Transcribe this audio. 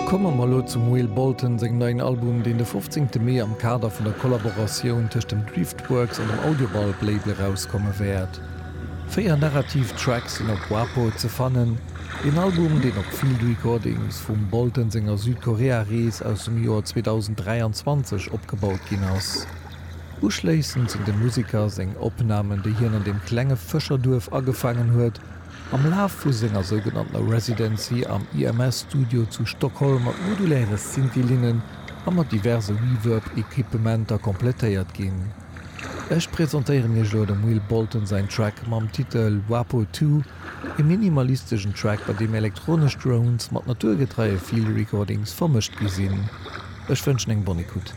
Komme mer elo zum Will Bolton sengem neien Album, deen de 15 Mee am Kader vun der Kollaboratioun tëscht dem Driftworks an dem Audiobulb Label erauskomme wäert. 4 narrativ Tracks sinn op Wapo ze fannen, een Album, deen op Field Recordings vum Bolton senger Südkorea-Rees aus dem Joer 2023 opgebaut ginn ass. Uschléissend sinn dem Museker seng Opnamen, déi hien an deem klenge Fëscherduerf agefaangen huet, am Laf vu senger sougenanntener Residency am IMS-Studio zu Stockholm mat moduläre Synthi-Linnen a mat diverse Reverb-Equipementer komplettéiert ginn. Ech presentéieren iech elo dem Will Bolton säin Track mam Titel Wapo 2, e minimalisteschen Track, bei deem elektronesch Drones mat naturgetreie Field Recordings vermëscht gi sinn. Ech wënschen eng bonne écoute.